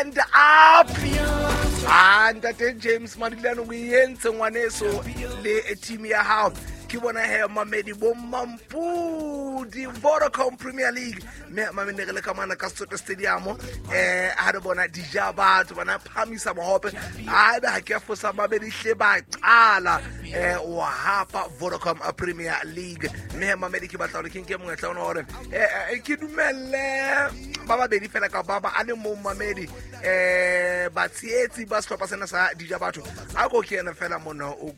Stand up. Ah, ntate James Madilane o entse ngwaneso le team ya hao. Ke bona he mamedi bo Mampudi Vodacom Premier League. Mme mamedi re le ka mona ka Soto Stadium, ha re bona dija batho bana phamisa mohope. Ha ebe ha ke a fosa mamedi hle ba qala wa hapa Vodacom Premier League. Mme mamedi ke batla hore ke nke monyetla ona hore ke dumelle ba babedi fela ka ba ba a le mong mamedi, batshehetsi ba sehlopha sena sa dija batho. A ko ke ena fela mona o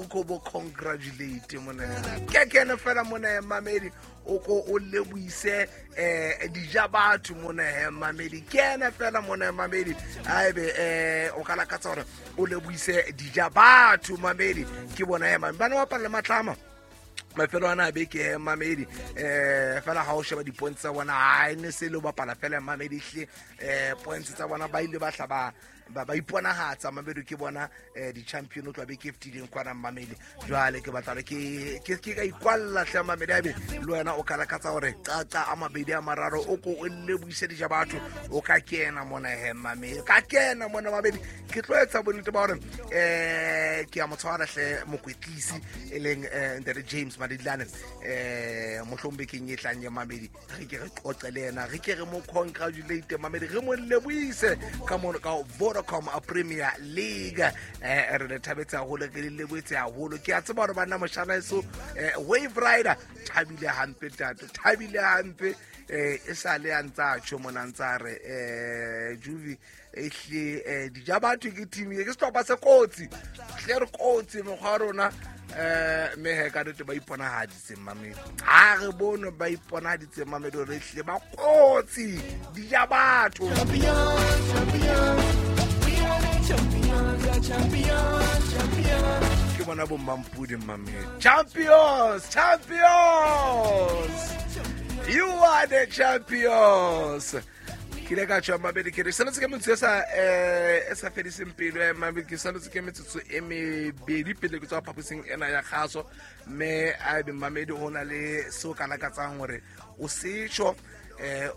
ko bo congratulate mona. Ke kene fela mona mamedi o ko o lebohise dija batho mona mamedi. Ke ena fela mona mamedi aebe o ka lakatsa hore o lebohise dija batho mamedi. Ke bona he mamedi bana ba bapala le Matlama mafelo ana a beke mamedi, fela ha o sheba di-points tsa bona ha e ne se le ho bapala fela mamedi hle, points tsa bona ba ile ba hla ba iponahatsa mamedi. Ke bona di-champion o tloha beke e fetileng kwana mamedi. Jwale ke batla hore ke ka ikwalla hle mamedi, aebe le wena o ka lakatsa hore qaqa a mabedi a mararo o ko o lebohise dija batho, o ka kena mona he mamedi, ka kena mona mamedi. Ke tlo etsa bonnete ba hore ke a mo tshwara hle mokwetlisi e leng ntate James Madilane, mohlomong bekeng e tlang ya mamedi re ke re qoqe le yena, re ke re mo congratulate mamedi, re mo lebohise ka mono ka Vodacom Premier League. Re le thabetse haholo, re le lebohetse haholo. Ke a tseba hore banna moshana eso, Wave Rider thabile hampe tate, thabile hampe, e sa le a ntsa tjho mona ntsa re Juvi ehle dija batho ke team e ke sehlopha se kotsi hle, re kotsi mokgwa wa rona, mme he ka nnete ba iponahaditse mamedi, ha re bone ba iponahaditse mamedi hore ehlile ba kotsi dija batho. Ke bona bo Mampudi mamedi, champions, champions, you are the champions. Ke ile ka tjho mabedi ke re saletse ke metsotso e sa fediseng pelo ya mabedi, ke saletse ke metsotso e mebedi pele ke tswa phaposing ena ya kgaso. Mme a be mamedi ho na le seo ka lakatsang hore o se tjho,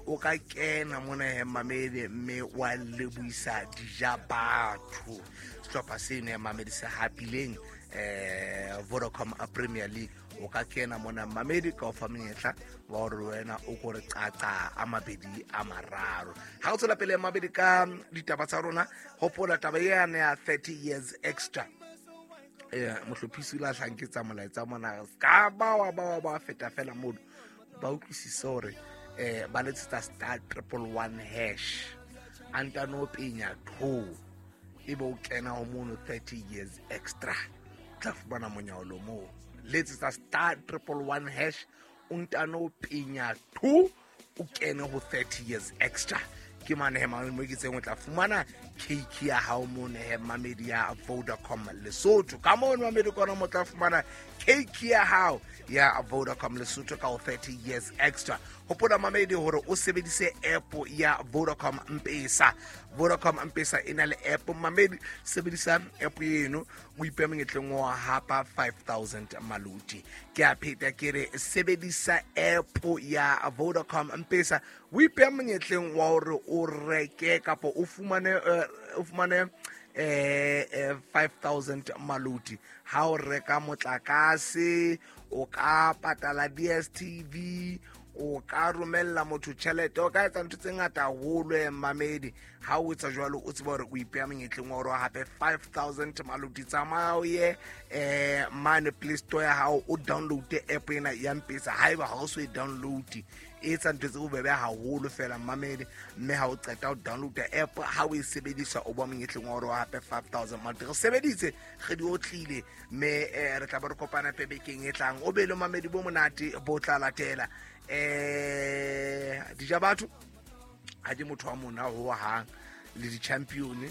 o ka kena mona he mamedi mme wa lebohisa dija batho sehlopha seno ya mamedi se hapileng Vodacom Premier League. O ka kena mona mamedi ka o fa monyetla wa hore wena o ko re qaqa a mabedi a mararo. Ha o tswela pele mabedi ka ditaba tsa rona, hopola taba yane ya 30 years extra. Mohlophisi o la hlanketsa molaetsa mona ka ba wa ba wa ba feta fela mono, ba utlwisise hore ba letsetsa star triple one hash a ntano penya 2 ebe o kena ho mono 30 years extra, tla fumana monyaolo moo. Letsetsa star 111 hash o ntano penya 2 o kene ho 30 years extra. Ke mane he mo ke tseng o tla fumana cake ya hao mono he mamedi ya Vodacom Lesotho. Ka mono mamedi kona mo tla fumana cake ya hao ya Vodacom Lesotho ka ho 30 years extra. Hopola mamedi hore o sebedise app ya Vodacom Mpesa. Vodacom Mpesa e na le app mamedi, sebedisa app eno o ipehe monyetleng wa hapa 5000 maluti. Ke a pheta ke re sebedisa app ya Vodacom Mpesa o ipehe monyetleng wa hore o reke kapa o fumane 5000 maluti ha o reka motlakase, o ka patala DStv, o ka romella motho tjhelete, o ka etsa ntho tse ngata haholo mamedi. Ha o etsa jwalo o tseba hore o ipeha monyetleng wa hore hape 5000 maluti. Tsamaya o ye mane Play Store ya hao o download app ena ya Mpesa. Haeba ha o so e download, e etsa ntho tse bobebe haholo fela mamedi. Mme ha o qeta ho download app, ha o e sebedisa o ba monyetleng wa hore o hape 5000 maluti. Re sebeditse re di otlile mme re tla be re kopana pebekeng e tlang. O be le mamedi bo monate bo tla latela. Dija batho ha di motho wa mona ho hang le di-champion.